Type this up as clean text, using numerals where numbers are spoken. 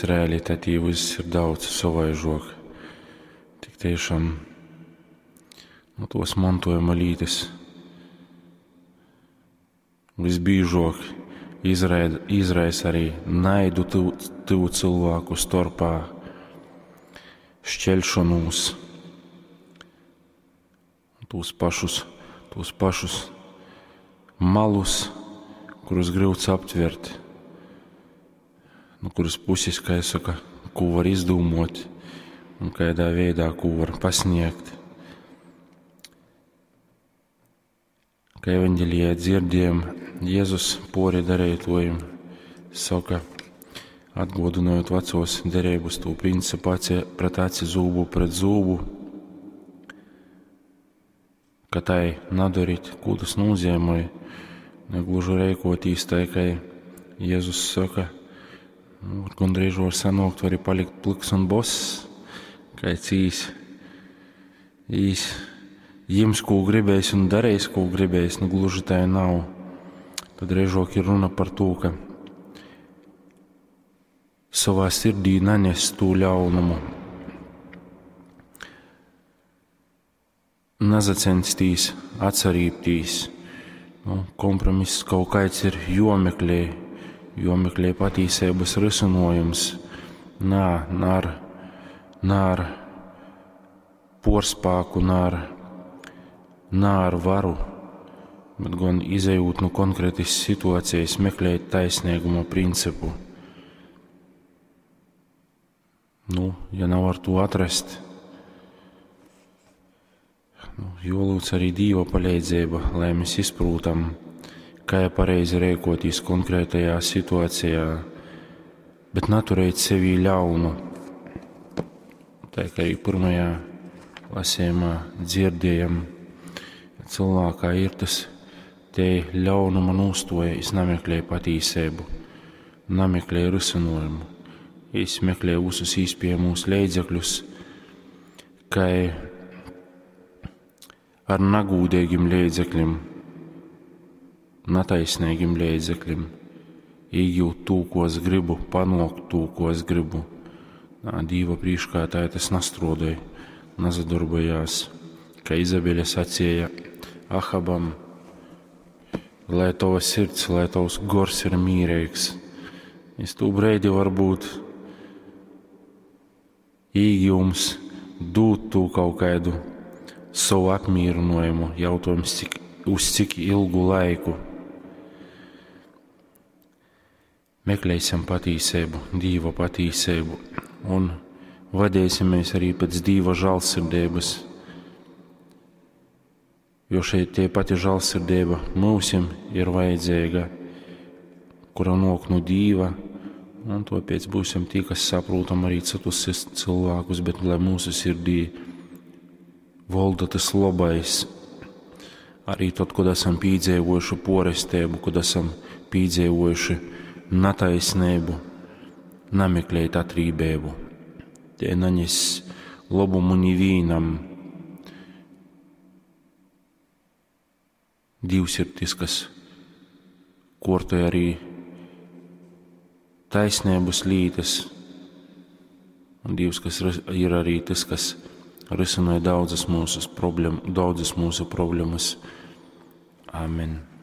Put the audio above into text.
Realitatī vyss ir daudz sovaižuok. Tik tiešām nu, tuos montuojuma lītys visbīžuok izraisa arī naidu tyvu cylvāku storpā, šķelšonūs, tūs pašus malus, kurus gryuts aptvert, nu kuras puses, kā es saka, ko var izdūmot un kādā veidā, ko var pasniegt. Kā evaņģelijā dzirdējam, Jēzus pori darītojiem saka, atgodinot vecos derības to principu aci pret aci, zūbu pret zūbu, ka tai nadarīt, ko tas nozīmē, negluži rēkotīs tai, kā Jēzus saka, nu, gandrīz var sanākt, var arī palikt pliks un boss, kā cīs, īs, jims, ko gribēs un darīs, ko gribēs, nu gluži tā nav. Tad režok ir runa par to, ka savā sirdī nanes to ļaunumu, nazacenstīs atsarībtīs. Nu, kompromiss kaut kāds ir jomeklē, jomeklē patīsības risinojums. Nā, nā ar porspāku, nā ar varu, bet gan izejot no konkrētas situācijas, meklēt taisnīguma principu. Nu, ja nav ar to atrast, nu, jolūdz arī Dīva palīdzība, lai mēs izprūtam, kā pareizi rēkotīs konkrētajā situācijā, bet naturēt sevī ļaunu. Tā kā arī pirmajā lasījumā dzirdējam, cilvēkā ir tas te ļaunuma nūstoja, es nameklēju patīsību, nameklēju risinājumu, es meklēju visus īspējamos līdzekļus, kā ar nagūdīgiem līdzekļiem, nataisnīgiem līdzekļiem, iegūt to, ko es gribu, panākt to, ko es gribu. Nā, Dīva prīškā tā tas nastrodēja, nazadarbojās, kā Izabele sacīja Ahabam, lai tava sirds, lai tavs gors ir mīrīgs. Es tū breidi varbūt īgījums dūt tū kaut kādu savu apmierinājumu, jautājums, uz cik ilgu laiku. Meklēsim patīsību, Dīva patīsību un vadīsimies arī pēc Dīva žēlsirdības, jo šeit tie pati žēlsirdība mūsim ir vajadzīga, kura nāk no Dīva, un tāpēc būsim tie, kas saprotam arī citus cilvēkus, bet lai mūsu sirdī valda tas labais, arī tad, kad esam piedzīvojuši porestību, kad esam piedzīvojuši netaisnību, nameklēt atrībību. Tie naņes labumu nivīnam. Dievs ir tas, kas kortoja arī taisnības lītas, un Dievs, kas ir arī tas, kas risināja daudzas mūsu problēmas. Amen.